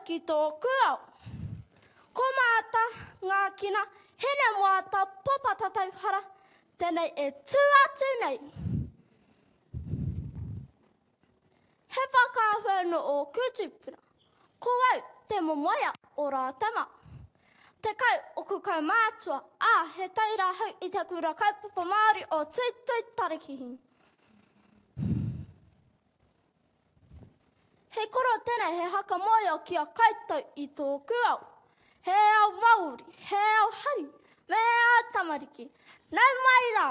ki tōku ao. Ko Maata, Ngākina, Hinemoata, Popata Tauhara, tēnei e tū atu nei. He whakaahua nō ōku tūpuna. Ko au te momoea o Rātama. 10 oku kaumātua, ā, he taura hau i te Kura Kaupapa Māori o Tuitui Tarakihi. He koro tēnei he haka moeo ki a koutou i tōku ao. He ao Māori, he ao hari, me he ao tamariki. Nau mai rā!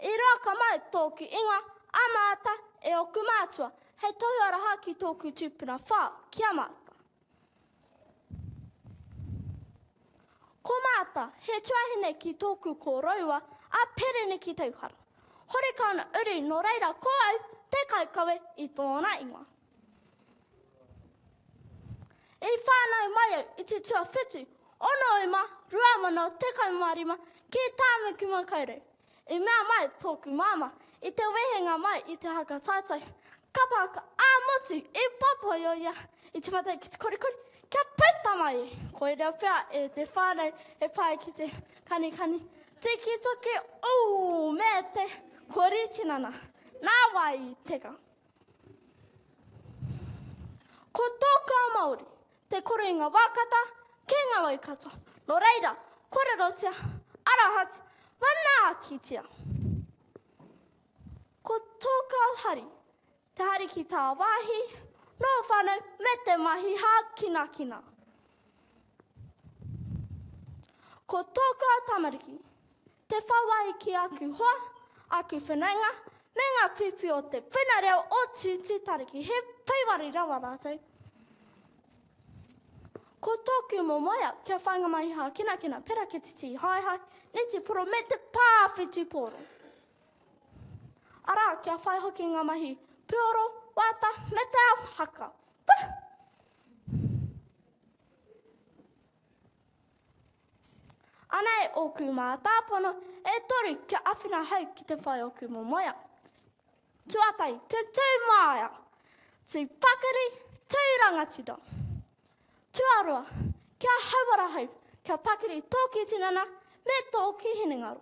I roa ka mau tōku ingoa, a Maata, e ōku mātua, hei tohu aroha ki tōku tūpuna whā, ki a Maata. Ko Maata, he tuahine ki tōku kōroua, a Pereniki Tauhara. Horekau ana uri nō reira ko au te kaikawe i tōna ingoa. I whānau mai au i te tuawhitu o Noema 2015 ki Tāmaki Makaurau. I mea mai tōku māmā i te wehenga mai i te haka taetae kapa haka ā-motu i Papoi ia i tīmata ai ki te korikori kia puta mai e. Koira pea e te whānau e pai ki te kanikani tikitoki ū me te kori tinana. Nā wai i teka. Ko tōku ao Māori, te koro i ngā wā kata, ki ngā wai katoa. Nō reira, kōrerotia, arohatia, manaakitia. Ko tōku ao hari, te hari ki tāwāhi, nō whānau me te mahi hākinakina. Ko tōku ao tamariki, Te whawhai ki aku hoa, aku whanaunga, me ngā pīpī o te puna reo o Tūtūtariki, he paiwari rawa rātou. Ko tōku momoea kia whai ngā mahi hākinakina pērā ki te tī haehae, netiporo me te pā whutupōro. Arā, kia whai hoki ngā mahi puoro, wāta me te ao haka. Puh! Anei ōku mātāpono e toru kia awhina hau ki te whai ōku momoea. Tuatahi, te tū māia, tū pakari, tū rangatira. Tuarua, kia hauora hau, kia pakari tōki tinana me tōki hinengaro.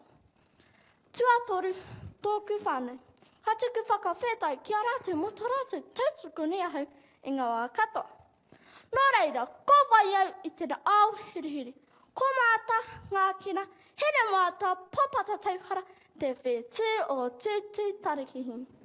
Tuatoru, tōku whānau. Ka tuku whakawhetai ki a rātou mō tō rātou tautoko nei ahau i ngā wā katoa. Nō reira, ko wai au i tena ao hurihuri? Ko Maata, Ngākina, Hinemoata, Popata Tauhara, te whetū o Tūtūtarikihi.